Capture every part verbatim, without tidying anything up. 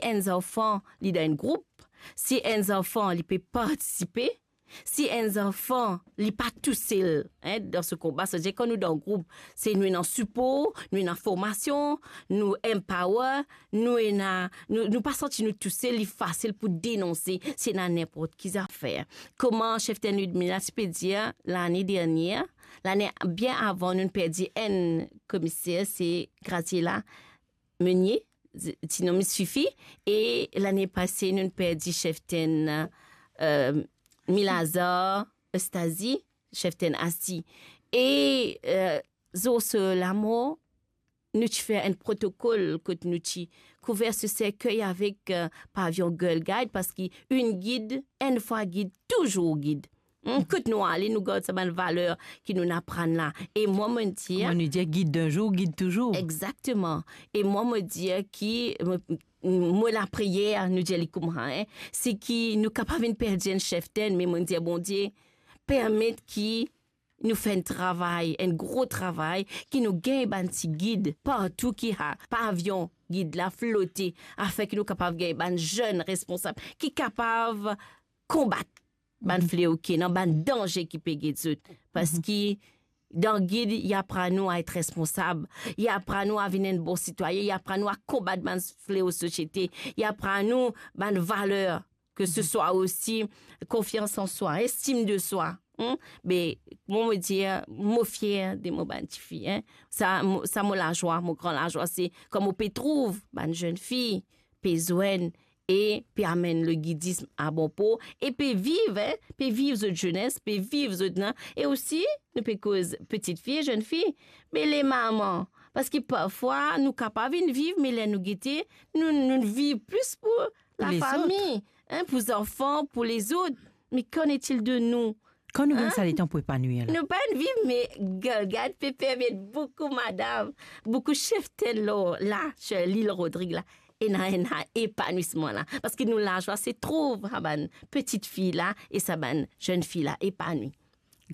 Enn zanfan, li dan enn group, si enn zanfan, li pe partisipe, si enn zanfan, li pa tousel, hein, dan se konba, sa vedir kan nou dan group, se nou ena sipor, nou ena formasion, nou empower, nou ena, nou, nou pa santi nou tousel, li fasil pou denonse, si ena ninport ki zafer. Kouma Cheftenn Ludmilla ti pe dir, lane dernie, lane bien avan, nou perdi enn komiser, se Graciela Meunier, ti nom Sifi, e lane pase, nou perdi Cheftenn, euh, Milazar Eustazi, Cheftenn Asti. E, euh, zour so lamor, nou ti fer enn protokol kot nou ti kouver so serkey avek, euh, pavion Girl Guide, parski enn gid, enn fwa gid, touzour gid. Hmm, kot nou ale, nou gard sa bann valer ki nou aprann la. E mwa, mo dir, kouma nou dir, gid d'un jour, gid toujours. Exactement. E mwa, mo dir ki, mo, mo lapriyer, nou dir li koumsa, hein, se ki nou kapav vinn perdi enn cheftenn, me mo dir, Bondie, permet ki nou fer enn travay, enn gro travay, ki nou gagn bann ti gid partou ki a pavion gid la flote, afin ki nou kapav gagn bann zenn responsab ki kapav konbat bann fleo ki ena, bann danze ki pe get zot. Parski dan gid, li aprann nou a et responsab, li aprann nou a vinn enn bon sitwayin, li aprann nou a konbat bann fleo sosiete, li aprann nou bann valer, ke se swa osi konfians an swa, estim de swa. Hmm? Me, mo, mo dir, mo fier de mo bann tifi, hein. Sa, mo, sa mo lazwa, mo gran lazwa, se kan mo pe trouv bann zenn fi pe zwenn e pe amenn legidism a bon por, e pe viv, hein, pe viv zot zenes, pe viv zot, hein. E osi, nou pe koz pitit fi e zenn fi, me le mama, parski parfwa nou kapav vinn viv, me ler nou gete, nou, nou viv plis pou lafami, hein, pou zanfan, pou lezot. Me qu'en est-il de nous? Kan nou gagn sa letan pou epanwir la? Nou pa viv, me Girl Guide pe permet boukou madam, boukou cheftenn la, la, lil Rodrig la, ena, ena epanwisman la. Parski nou lazwa se trouv sa bann pitit fi la e sa bann zenn fi la epanwi.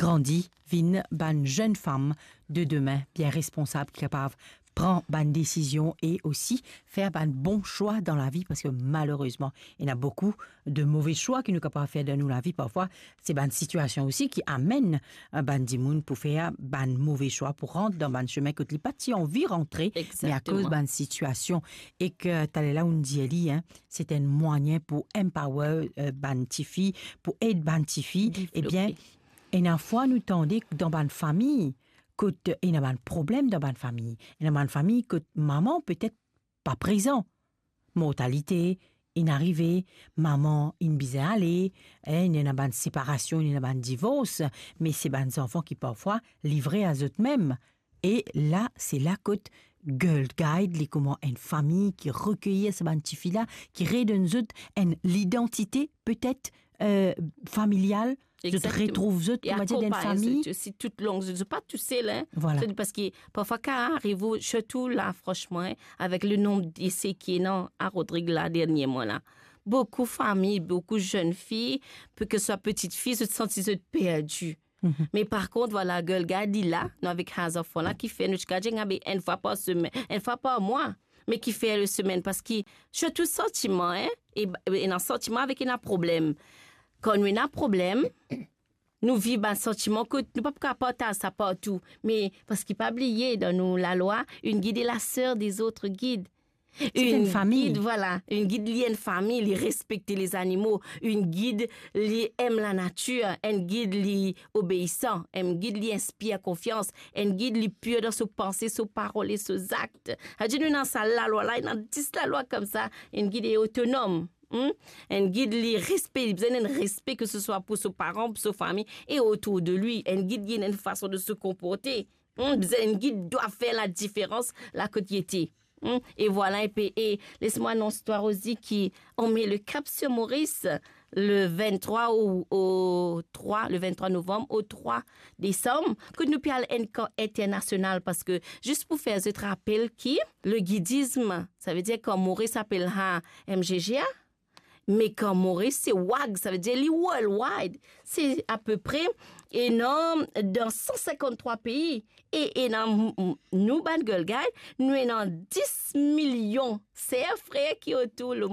Grandi, vinn bann zenn fam de demin, bien responsab, ki kapav pran bann desizion e osi fer bann bon swa dan lavi, parski malerezman, ena boukou de move swa ki nou kapav fer dan nou lavi. Parfwa, se bann sitiasion osi ki amenn, eh, bann dimoun pou fer bann move swa, pou rant dan bann semin kot li pa ti anvi rantre, me akoz bann sitiasion. E ke taler la, ou'nn dir li, hein, se enn mwayin pou empower, eh, bann tifi, pou ed bann tifi. Ebien, ena fwa nou tande dan bann fami, kot ena bann problem dan bann fami. Ena bann fami kot mama petet pa prezan. Mortalite inn arive, mama inn bizin ale, hein, ena bann separasion, ena bann divors, me se bann zanfan ki parfwa livre a zot mem. E la, se la kot Girl Guide, li kouma enn fami ki rekeyir sa bann tifi la, ki redonn zot enn lidantite, petet, eh, familial. Zot retrouv zot, kouma dir, dan enn fami. Zot osi toutlong, zot, zot pa tousel, hein. Vwala. Parski parfwa, kan ariv ou, sirtou la, fransman, hein, avek le nonb dese ki ena a Rodrig la, dernieman la, boukou fami, boukou zenn fi, pe ke swa pitit fi, zot santi zot perdi. Me par kont, vwala, Girl Guide, li la, nou avek sa zanfan la, ki fer nou ti kapav dir, enn fwa par semenn, enn fwa par mwa, me ki fer le semenn, parski sirtou santiman, hein, e, ena santiman avek ena problem. Kan nou ena problem, nou viv bann santiman kot nou pa pou kapav partaz sa partou, me parski pa bliye, dan nou lalwa, une guide est la sœur des autres guides. Enn fami. Vwala, enn gid li enn fami, li respekte lezanimo, enn gid li em lanatir, enn gid li obeisan, enn gid li inspir konfians, enn gid li pir dan so panse, so parol e so zak. Savedir nou ena sa lalwa la, ena dis lalwa koumsa, enn gid li otonom. Hmm? Enn gid li respe, li bizin enn respe, ke se swa pou so paran, pou so fami e otour de li. Enn gid li ena enn fason de se konporte. Hmm, bizin enn gid dwa fer ladiferans la kot li ete. Hmm, e vwala, epi, e les mwa anons twa osi ki on met le cap sur Maurice le vingt-trois au, au trois, le vingt-trois novembre au trois décembre, kot nou pe al enn kan internasional, parski, zis pou fer zot rapel ki le gidism, savedir kan Moris apel sa M G G A, me kan Moris se WAG, savedir li worldwide. Se apepre, ena dan san sinkant-trwa pei. E, ena, m-, m-, nou bann Girl Guide, nou ena dis milion ser, frer ki otour le